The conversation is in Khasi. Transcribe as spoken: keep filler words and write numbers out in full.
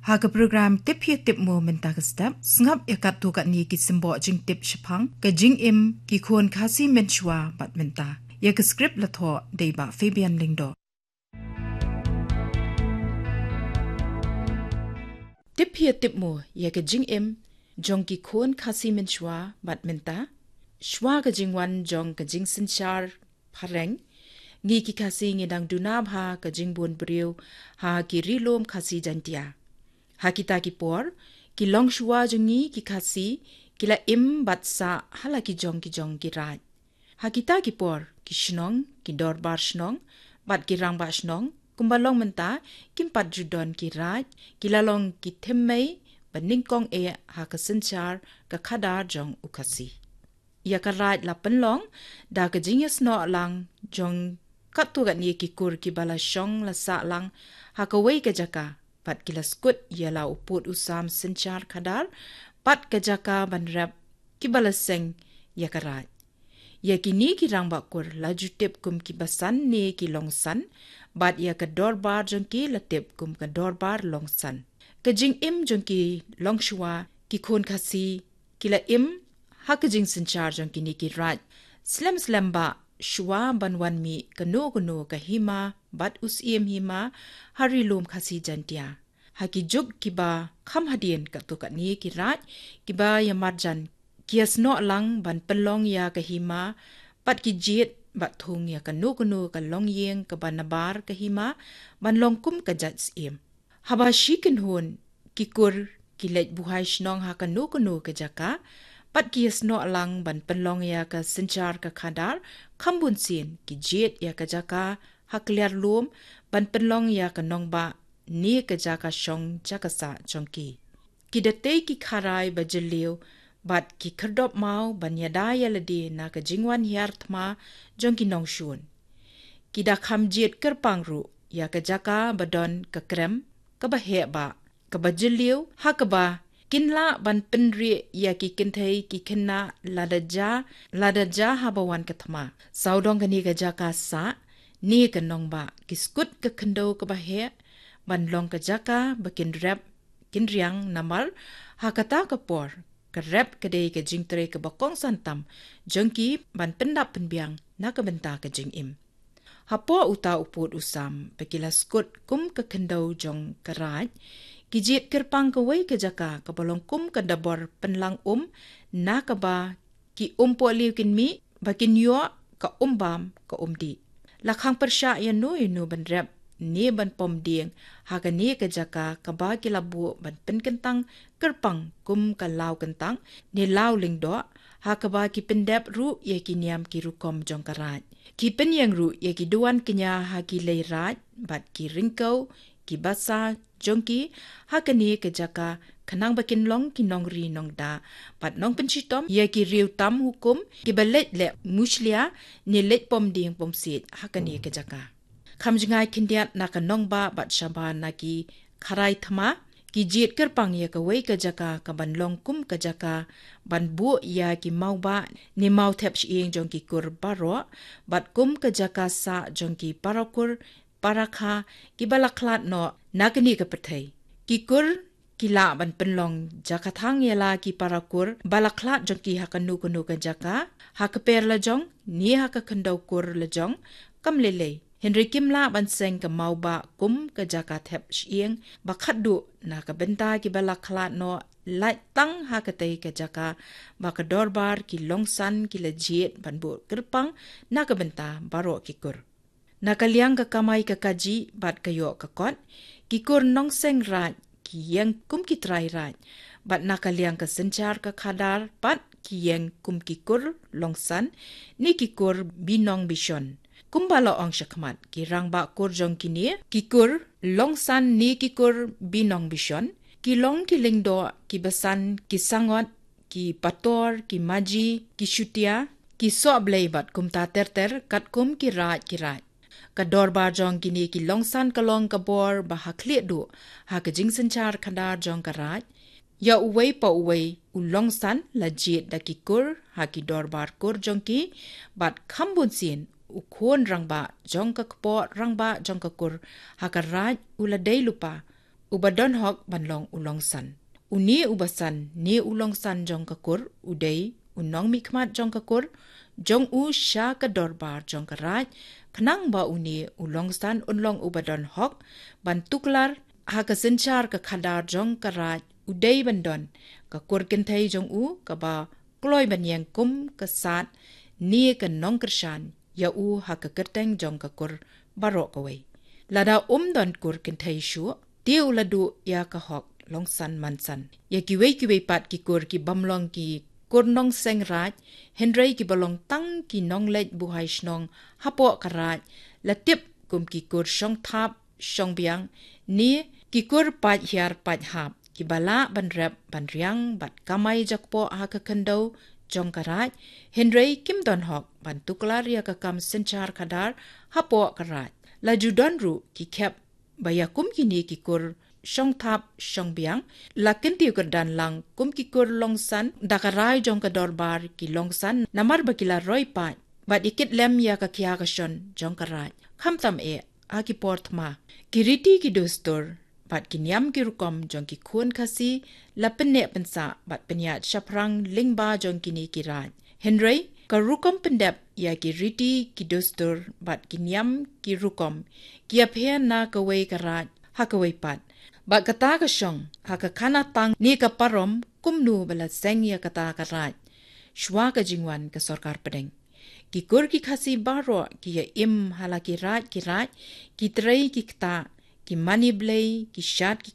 Ha ka program Tip Hi Tip Mo mynta ka step, sngap ïa katto katne ki symboh jingtip shaphang ka jingim ki khun Khasi mynshuwa bad mynta. Ïa ka script la thoh da i Bah Fabian Lyngdoh. Tip Hi Tip Mo ïa ka jingim jong ki khun Khasi mynshuwa bad mynta. Shuwa ka jingwan jong ka jingsynshar phareng, ngi ki Khasi ngi dang duna bha ka jingbun briew ha ki ri lum Khasi Jaintia. Ha kita ki por, ki longshuwa jong ngi ki Khasi ki la im bad sah ha la ki jong ki jong ki raid. Ha kita ki por, ki shnong, ki dorbar shnong bad ki rangbah shnong, kumba long mynta, kim pat ju don ki raid, ki la long ki thymmei ba nyngkong eh ha ka synshar ka khadar jong u Khasi. Ïa ka raid la pynlong da ka jingïasnoh lang jong katto katne ki kur kiba la shong la sah lang ha kawei ka jaka, bad ki la skud ïa la u pud u sam synshar khadar bad ka jaka ban rep kiba la seng ïa ka raid. Ïa kine ki rangbah kur la ju tip kum ki basan ne ki longsan, bad ïa ka dorbar jong ki la tip kum ka dorbar longsan. Ka jingim jong ki longshuwa ki khun Khasi ki la im ha ka jingsynshar jong kine ki raid slem slem ba shuwa ban wan mih kano kano ka hima bad u syiem hima ha ri lum Khasi Jaintia. Ha ki juk kiba kham hadien katto katne ki raid kiba ïa marjan ki ïasnoh lang ban pynlong ïa ka hima bad ki jied bad thung ïa kano kano ka longïing kaba nabar ka hima ban long kum ka jait syiem. Haba shi kynhun ki kur ki leit buhai shnong ha kano kano ka jaka, bad ki ïasnoh lang ban pynlong ïa ka synshar ka khadar, kham bun sien ki jied ïa ka jaka ha kliar lum ban pynlong ïa ka nongbah ne ka jaka shong jaka sah jong ki. Ki da tei ki kharai ba jylliew bad ki khyrdop maw ban ïada ïa lade na ka jingwan hiar thma jong ki nongshun. Ki da kham jied kyrpang ruh ïa ka jaka ba don ka krem kaba heh ba kaba jylliew ha kaba kin lah ban pynrieh ïa ki kynthei ki khynnah lada ja, lada ja haba wan ka thma. Sawdong kane ka jaka sah ne ka nongbah ki skud ka khyndew kaba heh ban long ka jaka ba kin rep kin riang namar ha kata ka por ka rep ka dei ka jingtrei kaba kongsan tam jong ki ban pyndap pynbiang na ka bynta ka jingim. Hapoh uta u pud u sam ba ki la skud kum ka khyndew jong ka raid, ki jied kyrpang kawei ka jaka kaba long kum ka dabor pynlang um na kaba ki um pohliew kin mih ba kin ïoh ka um bam ka um dih. La khang pyrshah ïano ïano ban rep ne ban pom dieng ha kane ka jaka kaba ki la buh ban pynkyntang kyrpang kum ka law kyntang ne law lyngdoh, ha kaba ki pyndep ruh ïa ki niam ki rukom jong ka raid. Ki pynïeng ruh ïa ki duwan kñia ha ki lei raid bad ki ryngkew ki basa jong ki ha kane ka jaka khnang ba kin long ki nongri nongda bad nongpynshitom ïa ki riew tam hukum kiba leit leh mushlia ne leit pom dieng pom siej ha kane ka jaka. Kham jngai khyndiat na ka nongbah bad shabar na ki kharai thma, ki jied kyrpang ïa kawei ka jaka kaban long kum ka jaka ban buh ïa ki mawbah ne maw thep shyieng jong ki kur baroh bad kum ka jaka sah jong ki para kur para kha kiba la khlad noh na kane ka pyrthei. Ki kur ki lah ban pynlong jaka thang ïa la ki para kur ba la khlad jong ki ha kano kano ka jaka, ha ka per la jong ne ha ka khyndew kur la jong, kam lei lei. Hynrei kim lah ban seng ka mawbah kum ka jaka thep shyieng ba khatduh na ka bynta kiba la khlad noh, lait tang ha katei ka jaka ba ka dorbar ki longsan ki la jied ban buh kyrpang na ka bynta baroh ki kur. Na ka liang ka kamai ka kajih bad ka ïoh ka kot, ki kur nongseng raid ki ïeng kum ki trai raid, bad na ka liang ka synshar ka khadar pat ki ïeng kum ki kur longsan ne ki kur binong bishon. Kumba la ong shakhmat, ki rangbah kur jong kine ki kur longsan ne ki kur binong bishon ki long ki lyngdoh, ki basan, ki sangot, ki pator, ki maji, ki shutia, ki sohblei bad kumta ter ter katkum ki raid ki raid. Ka dorbar jong kine ki longsan ka long ka bor ba ha khlieh duh ha ka jingsynshar khadar jong ka raid. Ïa uwei pa uwei u longsan la jied da ki kur ha ki dorbar kur jong ki, bad kham bun sien u khun rangbah jong ka kpoh rangbah jong ka kur ha ka raid u la dei lypa uba don hok ban long u longsan. Une uba san ne u longsan jong ka kur u dei u nongmihkhmat jong ka kur jong u sha ka dorbar jong ka raij, khnang ba une u longsan un long uba don hok ban tuklar ha ka synshar ka khadar jong ka raij. U dei ban don ka kur kynthei jong u kaba kloi ban ïeng kum ka sad ne ka nongkyrshan ïa u ha ka kyrteng jong ka kur baroh kawei. Lada um don kur kynthei shuh, te u la duh ïa ka hok longsan mansan. Ïa kiwei kiwei pat ki kur ki bym long ki kur nongseng raij, hynrei kiba long tang ki nongleit buhai shnong hapoh ka raij, la tip kum ki kur shong thap shong biang ne ki kur paid hiar paid hap, kiba lah ban rep ban riang bad kamai jakpoh ha ka khyndew jong ka raij, hynrei kim don hok ban tuklar ïa ka kam synshar khadar hapoh ka raij. La ju don ruh ki khep ba ïa kum kine ki kur shong thap shong biang la kyntiew kyrdan lang kum ki kur longsan da ka rai jong ka dorbar ki longsan, namar ba ki la roi paid bad ïa kit lem ïa ka khia ka shon jong ka raij. Khamtam eh ha ki por thma, ki riti ki dustur bad ki niam ki rukom jong ki khun Khasi la pynneh pynsah bad pynïaid shaphrang lyngba jong kine ki raij. Hynrei ka rukom pyndep ïa ki riti ki dustur bad ki niam ki rukom ki ïapher na kawei ka raij ha kawei pat. Bad kata ka shong ha ka khana tang ne ka parom kumno ba la seng ïa kata ka raij shuwa ka jingwan ka sorkar pdeng. Ki kur ki Khasi baroh ki ïa im ha la ki raij ki raij, ki trei ki ktah, ki mane blei, ki shad ki